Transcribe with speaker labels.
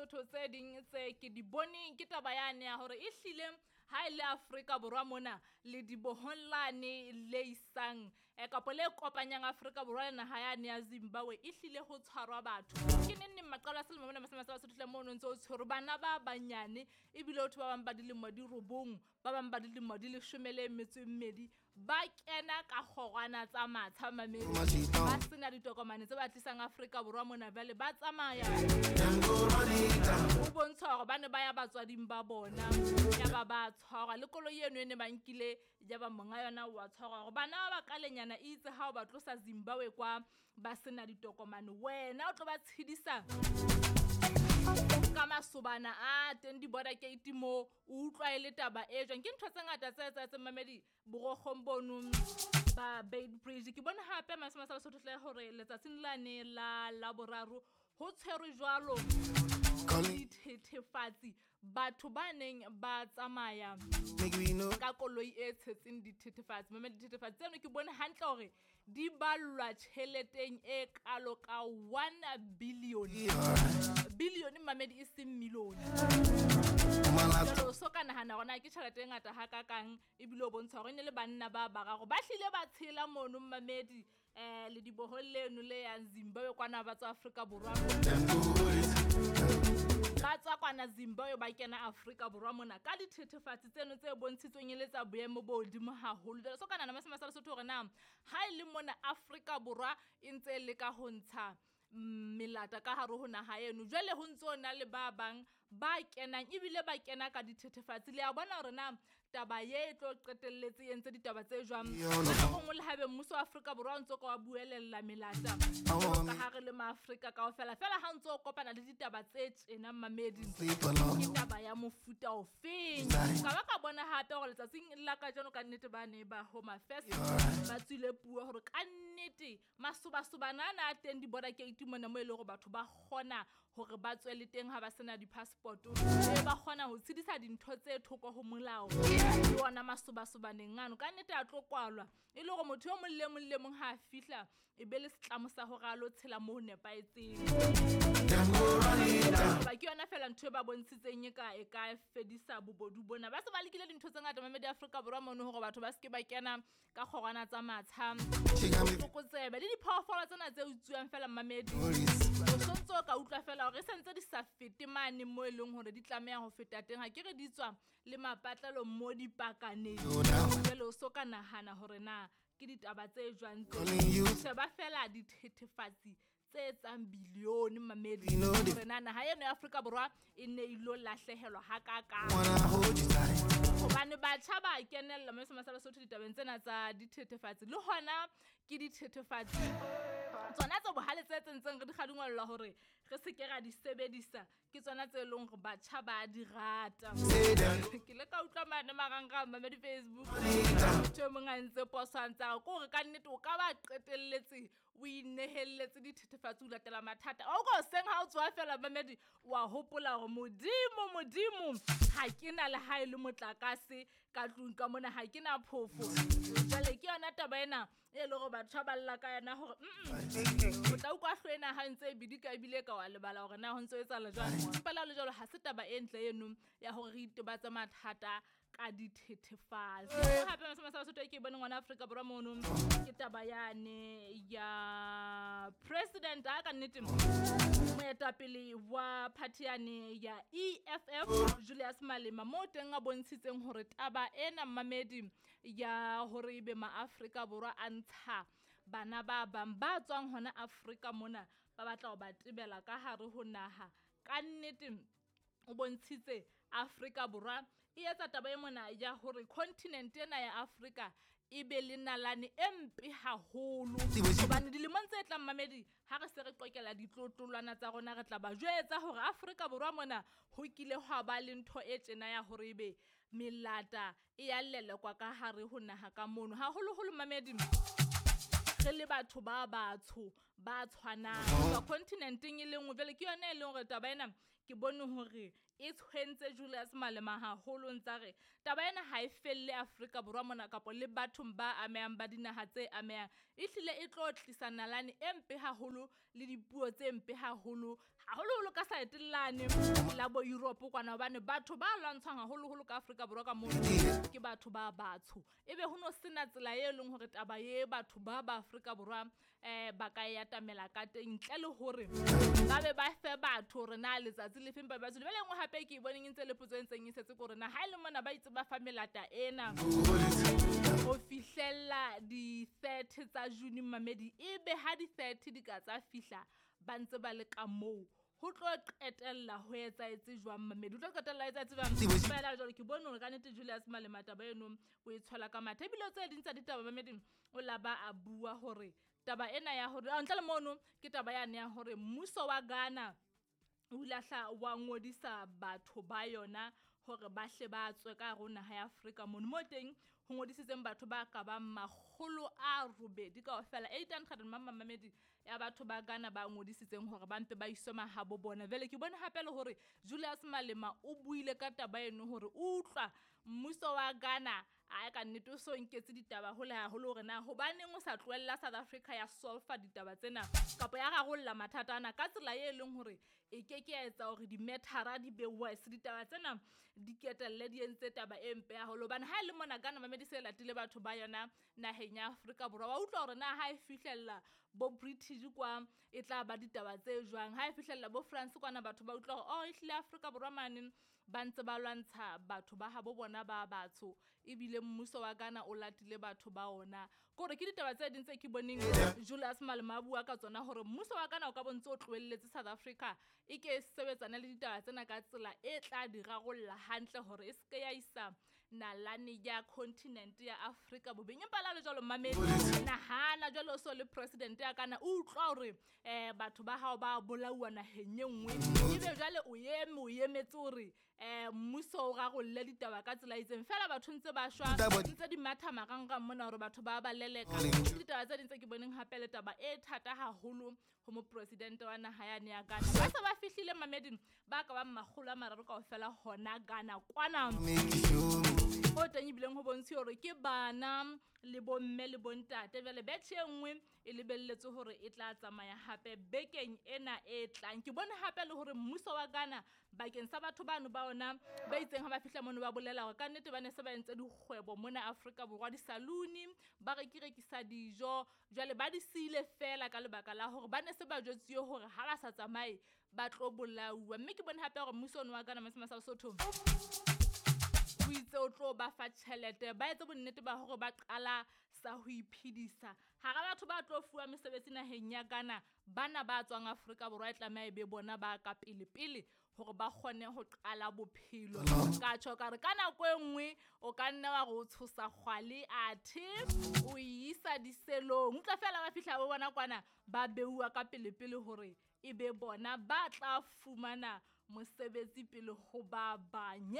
Speaker 1: Lesotho tse ding tse ke di boneng ke taba yane ya hore ehlile ha e le Afrika Borwa mona le dibohong lane le isang kapa le kopanyang Afrika Borwa le naha yane ya Zimbabwe ehlile ho tshwarwa batho. Ke neng neng maqalo a selemo mona masema sa Basotho hle mono ntso o tshwerwe bana ba banyane ebile ho thwe ba bang ba dilemo di 9, ba bang ba dilemo di 12 ba kena ka kgorwana tsa matsha mamedi ba sena ditokomane tse ba tlisang Afrika Borwa mona jwale ba tsamaya ho bontsha hore ba ne ba ya batswading ba bona ya ba ba tshwarwa le koloi eno e ne ba nkile ya ba monga yona wa tshwarwa hore bana ba bakalenyana itse ha o ba tlosa Zimbabwe kwa ba sena ditokomane wena o tlo ba tshedisa ka masobana a teng di-border gate mo o utlwa e le taba e jwang. Ke ntho tse ngata tse etsahetseng mamedi borokgong bono ba Beitbridge. Ke bone hape masema sa Lesotho hle hore letsatsing lane la Laboraro ho tshwerwe jwalo dithethefatsi batho ba neng ba tsamaya ka koloi e tshetseng dithethefatsi. Mamedi dithethefatsi tseno ke bone hantle hore di ballwa tjheleteng e kalo ka 1 billion. Billion mamedi e seng million. Jwale o so ka nahana hore na ke tjhelete e ngata hakakang ebile o bontsha hore e ne le banna ba bararo ba hlile ba tshela mono mamedi le dibohong leno le yang Zimbabwe kwana ba tswa Afrika Borwa. Ba tswa kwana Zimbabwe ba kena Afrika Borwa mona ka dithethefatsi tseno tse bontshitsweng e le tsa boemo bo hodimo haholo. Jwale so ka nahana masema sa Lesotho hore na ha e le mona Afrika Borwa e ntse e leka ho ntsha melata ka hare ho naha eno jwale ho ntso na le ba bang ba kenang ebile ba kena ka dithethefatsi. Le a bona hore na taba ye e tlo qetelletse e entse ditaba tse jwang. Ka nngwe le haebe mmuso wa Afrika Borwa o ntso ka wa buelella melata ka hare le maAfrika kaofela fela ha ntso o kopana le ditaba tse tjena mamedi ke taba ya mofuta ofeng. Ka ba ka bona hape hore letsatsing la kajeno ka nnete ba ne ba Home Affairs ba tswile puo hore ka nnete masobasobana ana a teng di-border gate mona mo e leng hore batho ba kgona hore ba tswele teng ha ba sena di-passport ba kgona ho tshedisa dintho tse thoko ho molao le ona masobasobaneng ano ka nnete a tlo kwalwa e le hore motho yo mong le mong le mong ha a fihla e be le setlamo sa hore a lo tshela mo ho nepahetseng. Ba ke yona fela ntho e ba bontshitseng e ka fedisa bobodu bona. Ba se ba lekile dintho tse ngata mamedi Afrika Borwa mono hore batho ba seke ba kena ka kgorwana tsa matsha tlokotsebe le diphoofolo tsena tse utsuwang fela mamedi o sontso ka utlwa fela hore e sentse di sa fete mane mo e leng hore di tlameha ho feta teng. Ha ke re di tswa le mapatlelo mo dipakaneng jwale o so ka nahana hore na ke ditaba tse jwang tse. Sheba fela dithethefatsi tse etsang bilione mamedi hore na naha eno ya Afrika Borwa e ne ilo lahlehelwa hakakang. Hobane batjha ba kenella mme sa Lesotho ditabeng tsena tsa dithethefatsi le hona ke dithethefatsi tsona tse bohale tse tsentseng re di kgadingwellwa hore re se ke ra di sebedisa ke tsona tse leng hore batjha ba di rata. Ke le ka utlwa mane marangrang mamedi Facebook motho e mong a ntse poso a ntse a re ke hore ka nnete o ka ba qetelletse o inehelletse dithethefatsi o latela mathata. O ko seng ha o tswa fela mamedi wa hopola hore modimo modimo ha ke na le ha e le motlakase ka tlung ka mona ha ke na phofo. Jwale ke yona taba ena e le hore batho ba lla ka yona hore o tla utlwa hlwena ha ntse e bidika ebile ka wa lebala hore na ho ntse ho etsahala jwang. Empa le ha le jwalo ha se taba e ntle eno ya hore re itebatse mathata ka dithethefatsi. Hape masema sa Basotho ke bone ngwana Afrika Borwa mono ke taba yane ya president a ka nnete moetapele wa party yane ya EFF Julius Malema mo teng a bontshitseng hore taba ena mamedi ya hore ebe maAfrika Borwa a ntsha bana ba bang ba tswang hona Afrika mona ba batla ho ba tebela ka hare ho naha ka nnete o bontshitse Afrika Borwa e etsa taba e mona ya hore continent ena ya Afrika e be le nalane e mpe haholo. Hobane dilemong tse tlang mamedi ha re se re qokela ditlotlolwana tsa rona re tla ba jwetsa hore Afrika Borwa mona ho kile hwa ba le ntho e tjena ya hore ebe melata e ya lelekwa ka hare ho naha ka mono. Haholoholo mamedi re le batho ba batsho ba tshwanang tswa continenteng e le nngwe. Jwale ke yona e leng hore taba ena ke bone hore e tshwentse Julius Malema haholo ntsa re taba ena ha e felle Afrika Borwa mona kapa le bathong ba amehang ba dinaha tse amehang, ehlile e tlo tlisa nalane e mpe haholo le dipuo tse mpe haholo haholoholo ka saetelane la bo Europe kwana, hobane batho ba lwantshwang haholoholo ka Afrika Borwa ka mono ke batho ba batsho. Ebe ho no sena tsela e leng hore taba e batho ba ba Afrika Borwa ba ka e atamela ka teng ntle le hore ba be ba fe batho hore na letsatsi le feng ba ba tswile. Jwale e nngwe hape ke e boneng e ntse le potso e ntseng e setse ke hore na ha e le mona ba itse ba fa melata ena ho fihlella di-30 tsa June mamedi, ebe ha di-30 di ka tsa fihla ba ntse ba le ka moo, ho tlo qetella ho etsahetse jwang mamedi, ho tlo qetella ho etsahetse jwang? Fela jwale ke bone hore kannete Julius Malema taba eno o e tshwela ka mathe. Ebile tse ding tsa ditaba mamedi o la ba a bua hore taba ena ya hore ntle le mono ke taba yane ya hore mmuso wa Ghana o ile a hla wa ngodisa batho ba yona hore ba hle ba tswe ka hare ho naha ya Afrika mono, mo teng ho ngodisitseng batho ba ka bang 800 kaofela, 800 mamamedi ya batho ba Ghana ba ngodisitseng hore ba mpe ba iswe mahabo bona. Jwale ke bone hape le hore Julius Malema o buile ka taba eno hore o utlwa mmuso wa Ghana a ka nnete o so nketse ditaba hole haholo hore na hobaneng o sa tlohella South Africa ya solfa ditaba tsena kapa ya rarolla mathata ana ka tsela e leng hore e ke ke ya etsa hore di-matter-a di be worse, ditaba tsena di ketelle di entse taba e mpe haholo. Hobane ha e le mona Ghana mamedi se latile batho ba yona naheng ya Afrika Borwa, wa utlwa hore na ha e fihlella bo British kwa e tla ba ditaba tse jwang, ha e fihlella bo France kwana batho ba utlwa hore oh ehlile Afrika Borwa mane ba ntse ba lwantsha batho ba habo bona ba batsho, ebile mmuso wa Ghana o latile batho ba ona. Ke hore ke ditaba tse ding tse ke boneng Julius Malema a bua ka tsona hore mmuso wa Ghana o ka bo ntse o tlohelletse South Africa e ke e sebetsane le ditaba tsena ka tsela e tla di rarolla hantle hore e se ke ya isa nalane ya continent ya Afrika bobeng. Empa le ha le jwalo mamedi, nahana jwale o so le president ya Ghana, o utlwa hore batho ba hao ba bolauwa naheng e nngwe, ebe jwale o eme o emetse hore mmuso o rarolle ditaba ka tsela e itseng, fela batho ntse ba shwa ntse di matha marangrang mona hore batho ba ba leleka. Ke ditaba tse ding tse ke boneng hape le taba e thata haholo ho mopresidente wa naha yane ya Ghana. Ba se ba fihlile mamedi ba ka bang 300 kaofela hona Ghana kwana, o teng ebileng ho bontshe hore ke bana le bomme le bontate. Jwale batch e nngwe e lebelletse hore e tla tsamaya hape bekeng ena e tlang. Ke bone hape le hore mmuso wa Ghana bakeng sa batho bano ba ona ba itseng ha ba fihla mono ba bolela hore kannete ba ne se ba entse dikgwebo mona Afrika Borwa, di-saloon ba rekirekisa dijo, jwale ba di siile fela ka lebaka la hore ba ne se ba jwetsiwe hore ha ba sa tsamaye ba tlo bolauwa. Mme ke bone hape hore mmuso ono wa Ghana Masema sa Lesotho o itse o tlo ba fa tjhelete, ba etse bonnete ba hore ba qala sa ho iphedisa. Hara batho ba tlo fuwa mesebetsi naheng ya Ghana, bana ba tswang Afrika Borwa e tlameha e be bona ba ka pele pele hore ba kgone ho qala bophelo. Ka tjho ka re ka nako e nngwe o ka nna wa re o tshosa kgwale athe o isa diselong, utlwa fela ba fihla bo bona kwana ba beuwa ka pele pele hore e be bona ba tla fumana mosebetsi pele ho ba bang.